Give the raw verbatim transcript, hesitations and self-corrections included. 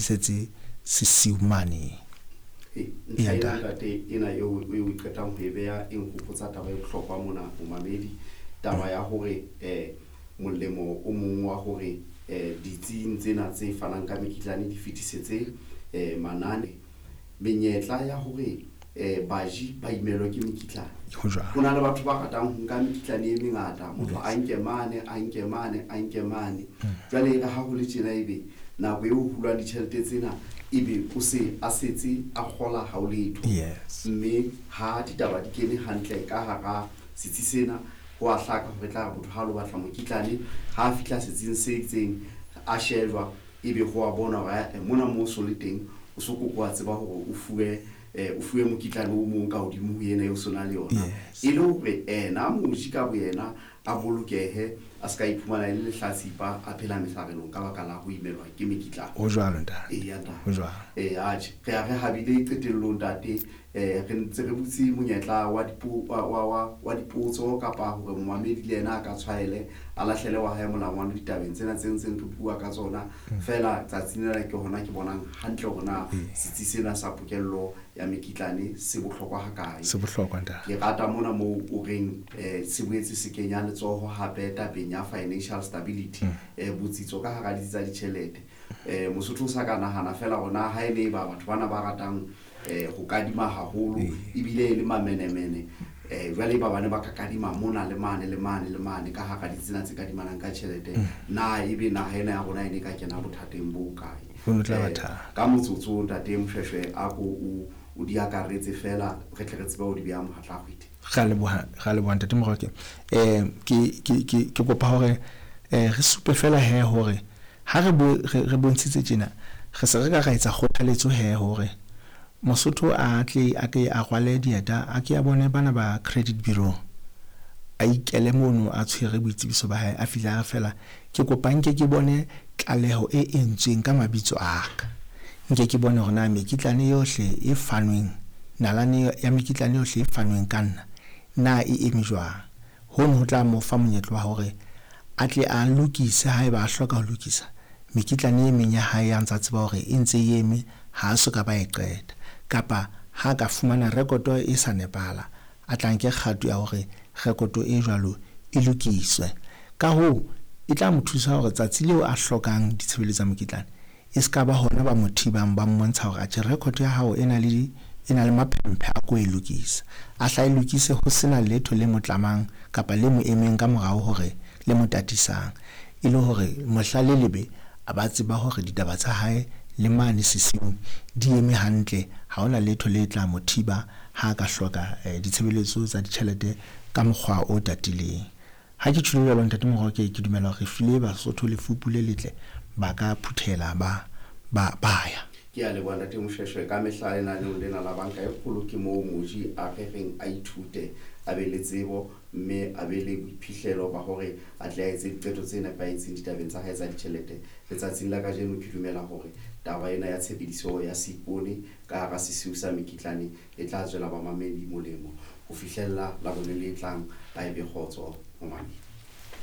fetisetse sesiu mane. Ee, ntlha ena ntate ena eo o e qetang ho e beha e nkgopotsa taba e bohlokwa mona momamedi, taba ya hore um molemo o mong wa hore um ditsing tsena tse fanang ka mekitlane di fetisetse um manane, menyetla ya hore um baji ba imelwe ke mekitlane. Ho jwalo. Ho na le batho ba ratang ho nka mekitlane e mengata, motho a nke mane, a nke mane, a nke mane. Jwale e re ha ho le tjena ebe nako eo ho hulwang ditjhelete tsena ebe o se a setse a kgola ha o letho. Yes. Mme ha ditaba di kene hantle ka hara setsi sena, ho a hlaka hore tla re motho ha lo batla mokitlane, ha a fihla setsing se itseng a shejwa, ebe ho a bona hore ae mona moo o so le teng o so koko wa tseba hore o fuwe eh, o fuwe mokitlane o mong ka hodimo ho ena eo o so na le yona. Yes. E le hore ena moji ka boyena a bolokehe, a ska iphumana e le lehlatsipa, a phela mesarelong ka baka la ho imelwa ke mekitlane. Ho jwalo ntate. Eya ntate. Ho jwalo. Eh, atjhe, re a re habile qetellong ntate, eh, re ntse re butse monyetla wa dipo-, wa, wa, wa, wa dipotso kapa hore momamedi le yena a ka tshwaele, a lahlele wa hae molangwana ditabeng tsena tse ntseng re bua ka tsona. Mm. Feela tsatsing lena ke hona ke bonang hantle hore na Ee. setsi sena sa pokello ya mekitlane se bohlokwa hakae. Se bohlokwa ntate. Ke rata mona moo o reng, eh, se boetse se kenya letsoho hape tabeng ya financial stability, Mm. eh, botsitso ka hara ditsi tsa ditjhelete. Eh, Mosotho o sa ka nahana feela hore na ha e le ba batho bana ba ratang, eh, ho kadima haholo, Ee. ebile e le mamenemene, eh, jwale ba bane ba ka kadima mona le mane le mane le mane ka hara ditsi tsena tse kadimanang ka tjhelete, Mm. na ebe naha ena ya rona e ne ka kena bothateng bo kae? Ho no tla ba Eh, thata. ka motsotso ntate Moshweshwe a ko o, o di akaretse feela re tle re tsebe ho di beha mohatla kgwedi. Re a leboha, re a leboha ntate Moroke. Eh, ke, ke, ke, ke kopa hore, eh, re supe feela he hore ha re bo, re, re bontshitse tjena, re se re ka ra etsa kgothaletso he hore Mosotho a tle a ke a rwale dieta, a ke a bone bana ba credit bureau, a ikele mono a tshwere boitsebiso ba hae, a fihle a re feela ke kopa nke ke bone tlaleho e entsweng ka mabitso a ka, nke ke bone hore na mekitlane yohle e fanweng, nalane ya mekitlane yohle e fanweng ka nna na e eme jwang. Hono ho tla mo fa monyetla wa hore a tle a lokise haeba a hloka ho lokisa mekitlane e meng ya hae ya ntsa tseba hore e ntse e eme, ha a soka ba e qeta, kapa ha ka fumana rekoto e sa nepahala, a tla nke kgato ya hore rekoto e jwalo e lokiswe. Ka hoo e tla mo thusa hore tsatsi leo a hlokang ditshebeletso tsa mokitlane e ska ba hona ba mo thibang, ba mmontsha hore atjhe record ya hao e na le, e na le maphemphe a ko e lokisa, a hla e lokise ho sena letho le mo tlamang kapa le mo emeng ka morao hore le mo tatisang, e le hore mohla le lebe a ba tseba hore ditaba tsa hae le mane sesiung di eme hantle, ha hona letho le tla mo thiba ha a ka hloka, eh, ditshebeletso tsa ditjhelete ka mokgwa o tatileng. Ha ke tjholo jwalo ntate Moroke, ke dumela hore re file Basotho lefupu le letle, ba ka phuthela ba, ba, ba ya. Ke a leboha ntate Moshweshwe. Ka mehla lenaneong lena la banka e kgolo ke moo moji a re reng a ithute, a be le tsebo mme a be le boiphihlelo ba hore a tle a etse diqeto tse nepahetseng ditabeng tsa hae tsa ditjhelete. Letsatsing la kajeno ke dumela hore taba ena ya tshebediso ya seipone ka hara sesiu sa mekitlane e tla tswela bamamedi molemo ho fihlella Labone le tlang. Ba ebe kgotso momamedi.